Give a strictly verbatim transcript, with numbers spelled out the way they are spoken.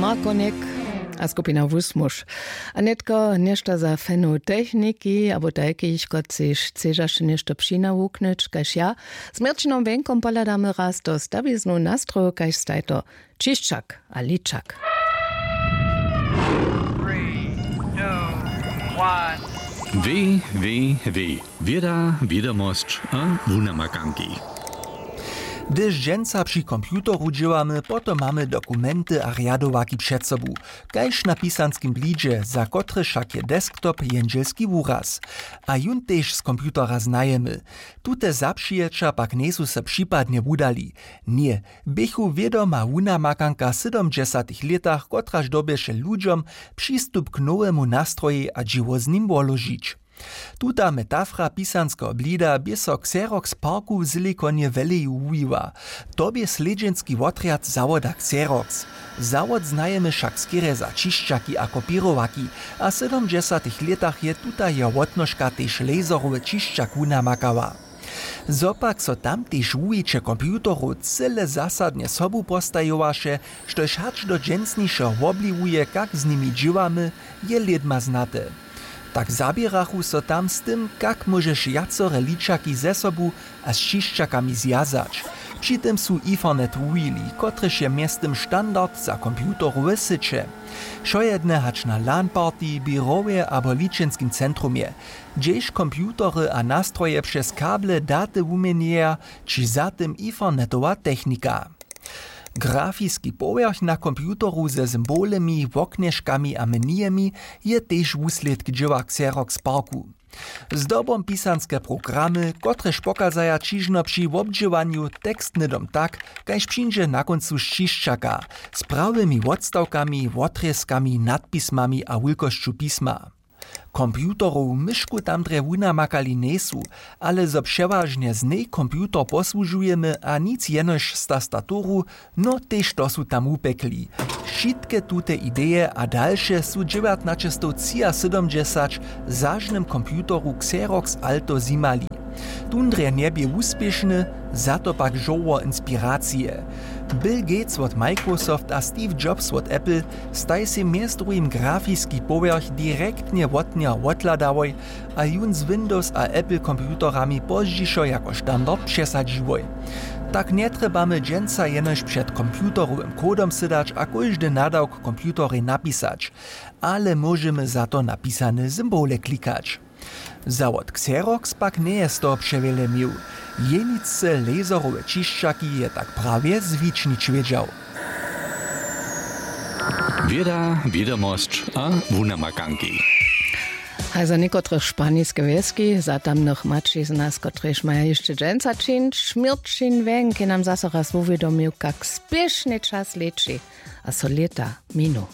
A konik a skupina wusmuž. A nětko něšto za fenow techniki abo tajkich, kotřiž chcedźaš něšto přinawuknyć kaž ja. Z měrćinom wjenkom pohladamy raz do stawiznu nastroju kaž stajto, čišćak a ličak. W W W, wěda, wědomosć a wunamakanki. Hdyž dźensa při computeru dźěłamy, potom mamy dokumenty a rjadowaki před sobu, kaž na pisanskim blidźe, za kotrež wšak je desktop jendźelski wuraz. A jón tež z computera znajemy. Tute zapřijeća pak njejsu so připadnje wudali. Ně, běchu wědoma wunamakanka w sydomdźesatych lětach, kotraž dyrbješe ludźom přistup k nowemu nastrojej a dźěło z nim woložić. Tuta metafra pisanskeho blida bě so Xerox parku w Siliconje Valley wuwiła. To bě slědźenski wotrjad zawoda Xerox. Zawod znajemy wšak skerje za čišćaki a kopěrowaki, a w sydomdźesatych lětach je tuta jeho wotnožka tež laserowy čišćak wunamakała. Zo pak so tam tež wuwiće computerow cyle zasadnje sobu postajowaše, štož hač do dźensnišeho wobliwuje, kak z nimi dźěłamy, je lědma znate. Tak zaběrachu so tam z tym, kak móžeš wjacore ličaki ze sobu a z čišćakami zwjazać. Při tym su Ethernet wuwili, kotryž je mjeztym standard za computerowe syće. Wšojedne hač na LAN-party, běrowje abo ličenskim centrumje, hdźež computery a nastroje přez kable daty wuměnjeja, ći za tym Ethernetowa technika. Grafiski powjerch na computeru ze symbolemi, woknježkami a menuemi je tež wuslědk dźěła Xerox parku. Zdobom pisanske programy, kotrež pokazaja ćižno při wobdźěłanju tekst hnydom tak, kaž přińdźe na kóncu z čišćaka, z prawymi wotstawkami, wotrězkami, nadpismami a wulkosću pisma. Computerow myšku tam drje wunamakali njejsu, ale zo přewažnje z njej computer posłužujemy a nic jenož z tastaturu, no tež to su tam wupjekli. Wšitke tute ideje a dalše su dźewjatnaćestowtřiasydomdźesać w zažnym computeru Xerox Alto zjimali. Tón drje njebě wuspěšny, za to pak žórło inspiracije. Bill Gates wot Microsoft a Steve Jobs wot Apple staj sej mjez druhim grafiski powjerch direktnje wot njeho wothladałoj a jón z Windows a Apple computerami pozdźišo jako standard přesadźiłoj. Tak njetrjebamy dźensa jenož před computerowym kodom sydać a kóždy nadawk computerej napisać, ale móžemy za to napisane symbole klikać. Zawod Xerox pak njeje z toho přewjele měł. Jenicce laserowe čišćaki je tak prawje zwičnić wědźał. Wěda, wědomosć a wunamakanki. A za někotrych španiske wjeski, za tamnych maćizna, z kotrychž maja hišće dźensa čińć, Měrćin Wjenk je nam zaso raz wuwědomił, kak spěšnje čas leći a so lěta minu.